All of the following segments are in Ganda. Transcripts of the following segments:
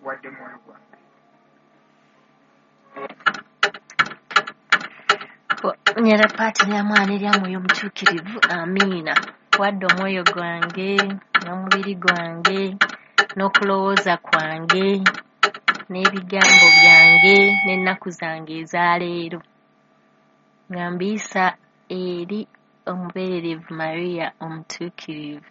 Nkuwadde mwoyo gwange. Nyera paati lya mwana erya mwoyo omutuukirivu, amiina. Wadde omwoyo gwange n'omubiri gwange n'okulowooza kwange n'ebigambo byange n'ennaku zange ezaleero, nga mbiyisa eri omubeererevu Maria omutuukirivu.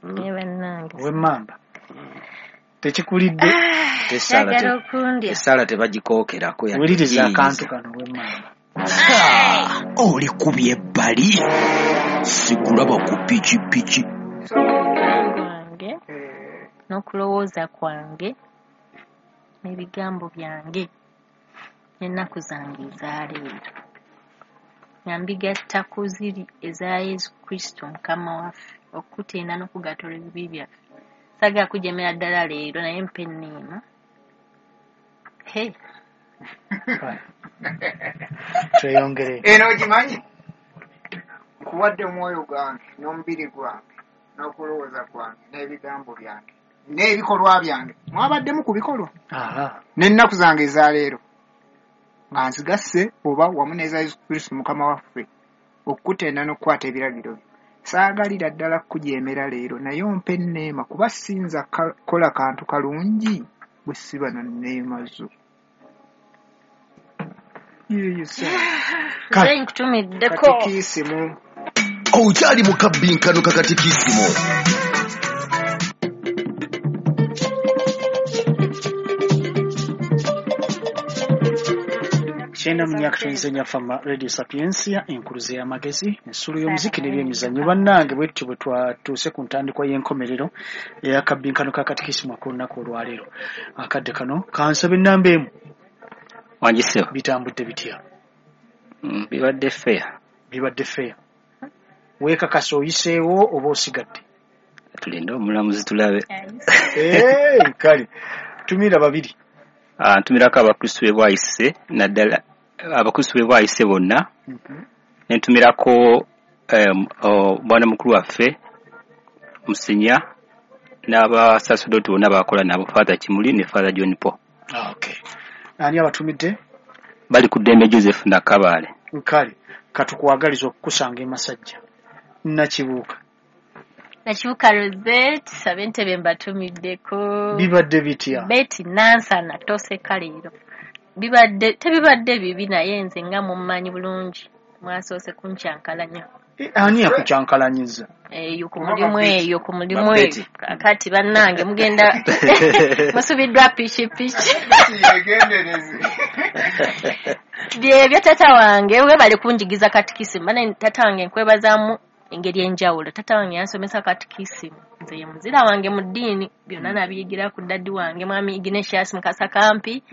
Naye bannange, Owemmamba tekikulidde. Tessaala Njagala okundya. Essaala tebagikookerako yadde Wuliriza giyiyiza. akantu kano, owemmamba. Oli kubye ebbali, sikulaba ku pikipiki. Gwange n'okulowooza kwange n'ebigambo byange n'ennaku zange ezaleero, nga mbigatta ku ziri eza Yesu Kristo Mukama waffe, okutenda n'okugatola ebibi byaffe. Saagala kujemera ddala leero, naye mpa enneema. He. Tweyongere. Eno ogimanyi? Nkuwadde omwoyo gwange n'omubiri gwange n'okulowooza kwange n'ebigambo byange n'ebikolwa byange. Mwabaddemu ku bikolwa. N'ennaku zange ezaleero nga nzigasse oba wamu n'eza Yesu Kristo Mukama waffe, okukutenda n'okukwata ebiragiro bye. Saagalira ddala kukujeemera leero, naye ompe enneema, kuba siyinza kukola kantu kalungi bwe siba na nneema zo. Yeeyo Nze nkutumiddeko. Katikisimu. Okyali mu kabbinkano ka katikisimu. 94.4 Fama Radio Sapiensia, enkuluze y'amagezi, ensulu y'omuziki n'ebyemizannyo. Bannange, bwe tutyo bwe twatuuse ku ntandikwa y'enkomerero ey'akabbinkano ka katikisimu ak'olunaku olwaleero. Akadde kano kansaba ennamba emu. Wangisewo. Bitambudde bitya? Bibadde fair. Bibadde fair. Weekakasa oyiseewo oba osigadde? Tulinde omulamuzi tulabe. Kale tumira babiri. Ntumirako abakristu be Bwayise, naddala abakristu be Bwayise bonna. Ne ntumirako bwana mukulu waffe Musinya n'abasaserdoti bonna bakola nabo, Father Kimuli ne Father John Paul. Okay. Ani abatumidde? Bali ku ddembe Joseph Nakabaale. Kale katukwagaliza okukusanga e Masajja. Nakibuuka. Nakibuuka Rosette, ab'entebe mbatumiddeko. Bibadde bitya? Betty Nansana toseka leero. Bibadde tebibadde bibi, naye nze nga mummanyi bulungi, mwasoose kunkyankalanya. Ani yakukyankalanyiza? Eyo ku mulimu, eyo ku mulimu eyo. Babeti. Kakati bannange mugenda musubiddwa pikipiki. Yegendereze. Byebyo tata wange webale kunjigiza katikisimu. Bana tata wange nkwebazaamu engeri enjawulo. Tata wange yansomesa katikisimu, nze ye muzira wange mu ddiini, byonna nabiyigira ku daddi wange mwami Ignatius Mukasa Kampi.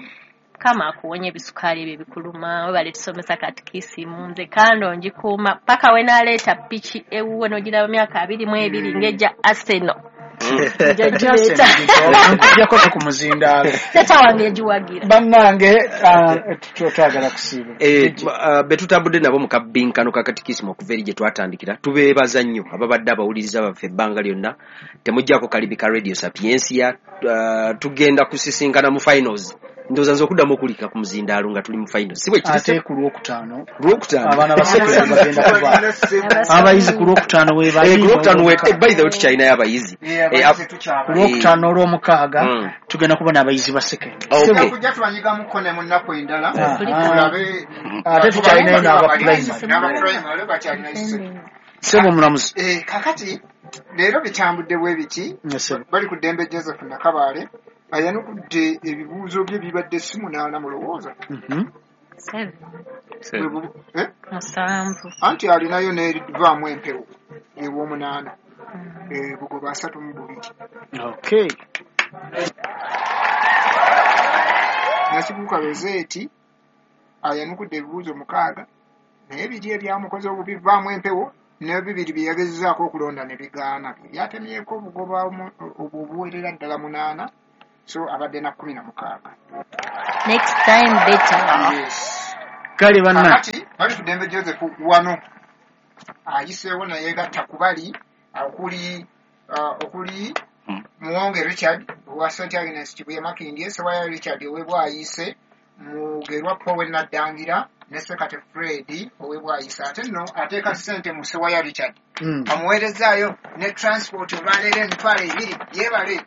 Mukama akuwonya ebisukaali ebyo ebikuluma. Webale tusomesa katikisimu, nze kando ngikuuma paka we naleeta piki ewuwe n'ogiraba myaka 22 ng'ejja Arsenal. Nja gireeta. Nkujjako ku muzindaalo. Tata wange yagiwagira. Bannange, twagala kusiiba. Be tutambudde nabo mu kabbinkano ka katikisimu okuva eri gye twatandikira, tubeebaza nnyo ababadde abawuliriza baffe ebbanga lyonna. Temuggyako kalimi ka Radio Sapiensia. Tugenda kusisinkana mu finals. Ndowooza nze okuddamu okulika ku muzindaalo nga tuli mu finals. Si bwe kiri? Ate ku Lwokutaano. Lwokutaano. Abaana ba secondary bagenda kuba. Abayizi ku Lwokutaano we bali. Ku Lwokutaano we, by the way tukyalinayo abayizi. Abayizi tukyabali. Ku Lwokutaano olw'omukaaga tugenda kuba n'abayizi ba secondary. Okay. Tujja tubanyigamuko ne mu nnaku endala. Tulabe. Ate tukyalinayo n'aba primary. N'aba primary bakyalinayo secondary. Ssebo omulamuzi. Kakati leero bitambudde bwe biti. Bali ku ddembe Joseph Nakabaale ayanukudde ebibuuzo bye bibadde si 8 mulowooza. 7. Anti alinayo n'erivaamu empewo ew'omunaana. Bugoba 32. Okay. Nakibuuka Rosette ayanukudde ebibuuzo 6, naye biri ebyamukoze obubi bivaamu empewo n'ebibiri bye yagezezaako okulonda ne bigaana. Byatemyeko obugoba obwo obuwerera ddala 8, so abadde na 16. Next time better. Yes. Kale banna. Kakati Balikuddembe Joseph wano ayiseewo nayegatta ku bali okuli Muwonge Richard owa St Agnes Kibuye Makindye, Sewaya Richard ow'e Bwayise, Mugerwa Paul Naddangira ne Sekate Fred ow'e Bwayise. Ate nno ateeka ssente mu Sewaya Richard, amuweerezaayo ne transport olwaleero 20,000. Yeebale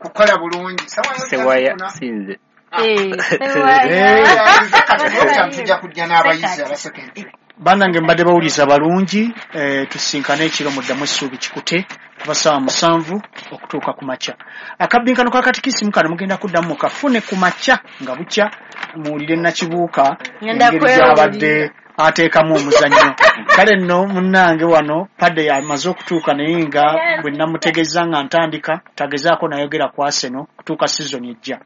kukola bulungi. Sewaya sinze. Tujja kujja n'abayizi aba secondary. Bannange, mbadde bawuliza balungi. Tusinkane ekiro muddamu essuubi kikute kuba ssaawa 7 okutuuka ku makya. Akabbinkano ka katikisimu kano mugenda kuddamu mukafune ku makya nga bukya, muwulire Nakibuuka Ngenda engeri kwewulira. gy'abadde ateekamu omuzannyo. Kale nno munnange, wano padde amaze okutuuka, naye nga bwe namutegeeza nga ntandika tagezaako nayogera ku Arsenal kutuuka season ejja.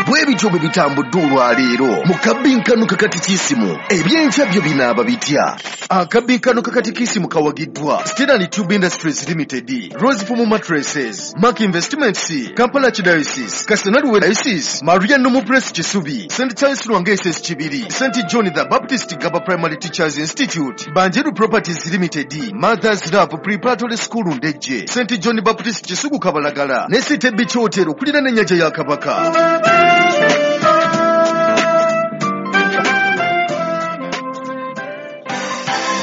Bwe bityo bwe bitambudde olwaleero mu kabbinkano kakatikisimu. Ebyenkya byo binaaba bitya? Akabbinkano kakatikisimu kawagiddwa Stanley Tube Industries Limited, Rosefom Mattresses, Mark Investments, Kampala Diocese, Kassena Diocese, Maria Normal Press Kisubi, St Charles Lwanga SS Kibiri, St John the Baptist Gaba Primary Teachers Institute, Banjeru Properties Limited, Mothers Love Preparatory School Ndejje, St John Baptist Kisugu Kabalagala ne City Beach Hotel okuliraana ennyanja ya Kabaka.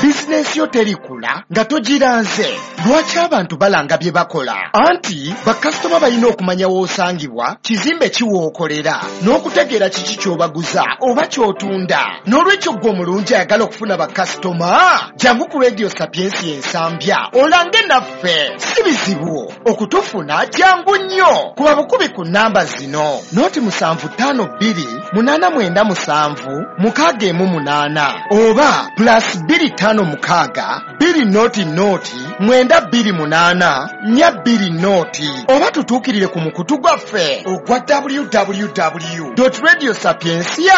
Bizinensi yo terikula nga togiranze. Lwaki abantu balanga bye bakola? Anti bakasitoma balina okumanya w'osangibwa, kizimbe kiwookolera, n'okutegeera kiki ky'obaguza oba ky'otunda. N'olwekyo ggwe omulungi ayagala okufuna bakasitoma, jangu ku Radio Sapiensi Ensambya olange naffe. Si bizibu okutufuna, jangu nnyo. Kuba bukubi ku namba zino: 0752897618 oba +256 200 928 420, oba tutuukirire ku mukutu gwaffe ogwa www radio sapiencia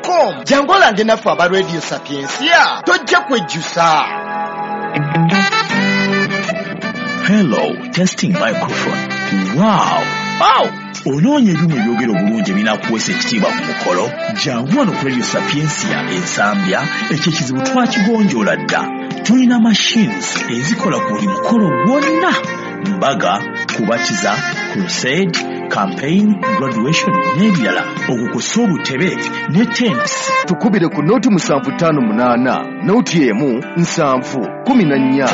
com. Jangu olange naffe aba Radio Sapiencia, tojja kwejjusa. Hello, testing microphone. Wow! Wow! Onoonya ebyuma ebyogera obulungi ebinaakuweesa ekitiibwa ku mukolo? Jangu wano ku Radio Sapiencia Ensambya, ekyo ekizibu twakigonjoola dda. Tulina machines ezikola ku buli mukolo gwonna: mbaga, kubatiza, crusade, campaign, graduation n'ebirala, okukosa obutebe ne tents. Tukubire ku 0758 01 7 14.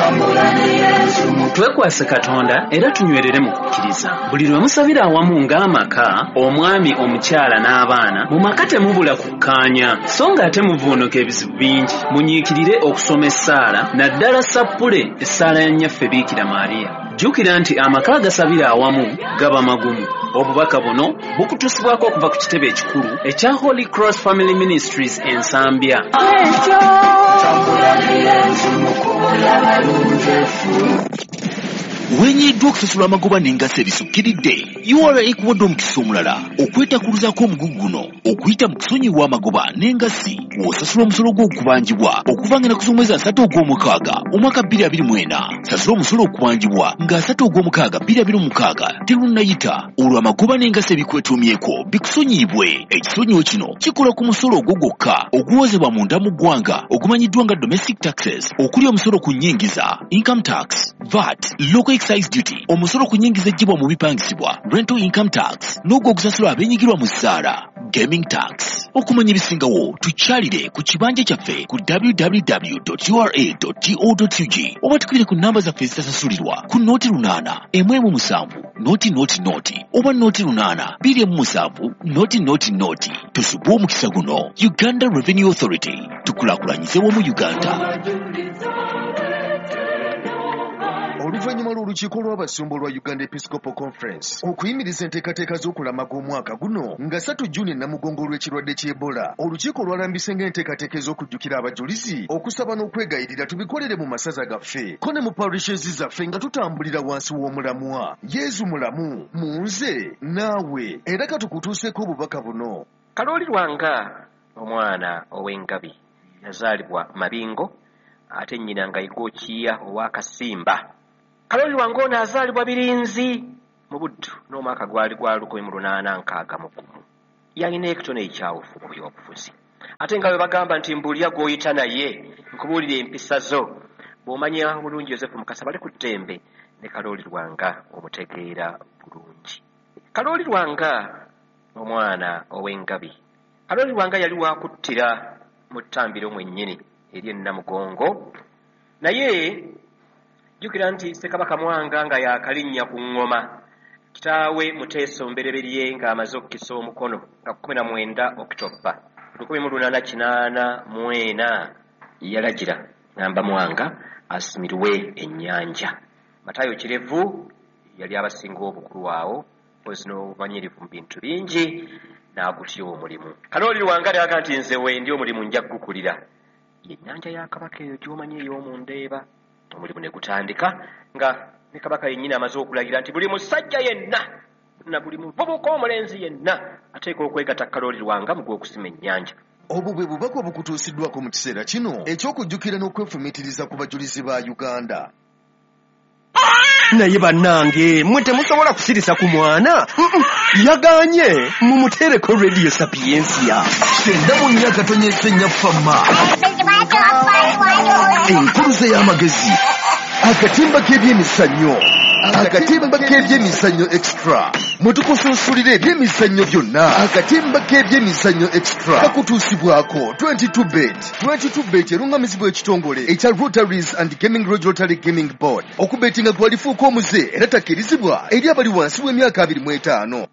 Twekwase Katonda era tunywerere mu kukkiriza. Buli lwe musabira awamu ng'amaka, omwami, omukyala n'abaana, mu maka temubula kukkaanya, so ng'ate muvuunuka ebizibu bingi. Munyiikirire okusoma essaala, naddala sappule, essaala ya Nnyaffe Biikira Maariya. Jjukira nti amaka agasabira awamu gaba magumu. Obubaka buno bukutusibwako okuva ku kitebe ekikulu ekya Holy Cross Family Ministries Ensambya. Wenyiddwa okusasula amagoba n'engassi ebisukkiridde? URA ekuwadde omukisa omulala okwetakuluzaako omugugu guno okuyita mu kusonyiwa amagoba n'engassi w'osasula omusolo gw'okubanjibwa okuva ng'ennaku z'omwezi 30 ogw'omukaaga omwaka 2024. Sasula omusolo okubanjibwa nga 30 ogw'omukaaga 2026 terunnayita, olwo amagoba n'engassi ebikwetuumyeko bikusonyiyibwe. Ekisonyiwo kino kikola ku musolo ogwo gwokka oguwozebwa munda mu ggwanga ogumanyiddwa nga domestic taxes, okuli omusolo ku nnyingiza, income tax, VAT, local excise duty, omusolo ku nnyingiza eggyibwa mu bipangisibwa, rental income tax, n'ogwo ogusasulwa abeenyigirwa mu ssaala, gaming tax. Okumanya ebisingawo, tukyalire ku kibanja kyaffe ku www ura go ug oba tukubire ku namba zaffe ezitasasulirwa ku 08 117 0 0 oba 08 27 0 0. Tusubwe omukisa guno. Uganda Revenue Authority, tukulaakulanyize wamu Uganda. Oluvannyuma lw'olukiiko lw'abasumba olwa Uganda Episcopal Conference okuyimiriza enteekateeka z'okulamaga omwaka guno nga 3 Juni Namugongo olw'ekirwadde ky'Ebola, olukiiko lwalambise ng'enteekateeka ez'okujjukira abajulizi, okusaba n'okwegayirira tubikolere mu masaza gaffe ko ne mu parishes zaffe nga tutambulira wansi w'omulamwa "Yezu mulamu mu nze naawe". Era katukutuuseeko obubaka buno. Kalooli Lwanga, omwana ow'engabi, yazaalibwa Mabingo, ate nnyina nga Igookiya ow'Akasimba. Kalooli Lwanga ono azaalibwa Birinzi mu Buddu n'omwaka gwali gwa 1861. Yalina ekitone ekyawufu mu byobufuzi. Ate nga bwe bagamba nti mbuulira gw'oyita naye nkubuulira empisa zo, bw'omanya bulungi Yosefu Mukasa Balikuddembe ne Kalooli Lwanga omutegeera bulungi. Kalooli Lwanga omwana ow'engabi. Kalooli Lwanga yali wakuttira mu ttambiro mwennyini eri Namugongo, naye jjukira nti Ssekabaka Mwanga nga yaakalinnya ku ŋŋoma, kitaawe Muteesa Omubereberye ng'amaze okukisa omukono nga 19 Okitoba 1884 yalagira ngamba Mwanga asimirwe ennyanja. Matayo Kirevu yali abasinga obukulu awo mpozi n'obumanyirivu mu bintu bingi n'agutya omulimu. Kalooli Lwanga n'agamba nti nze wendi omulimu nja kugukulira. Yennyanja ya Kabaka eyo gy'omanyi ey'omundeeba. Omulimu ne gutandika nga ne Kabaka yennyini amaze okulagira nti buli musajja yenna na buli muvubuka omulenzi yenna ateekwa okwegatta Kalooli Lwanga mu gw'okusima ennyanja. Obwo bwe bubaka obukutuusiddwako mu kiseera kino eky'okujjukira n'okwefumiitiriza ku bajulizi ba Uganda. Naye bannange mmwe temusobola kusirisa ku mwana. Yagaanye mumuteereko Radio Sapientia. 94.4 Fama. Enkuluze y'amagezi. Akatimba k'ebyemizannyo. Akatimba k'ebyemizannyo extra. Mwe tukusunsulira ebyemizannyo byonna. Akatimba k'ebyemizannyo extra kakutuusibwako 22 bet. 22 bet erungamizibwa ekitongole ekya Rotaries and Gaming Regulatory Gaming Board. Okubetinga gwalifuuka omuze era takkirizibwa eri abali wansi w'emyaka 25.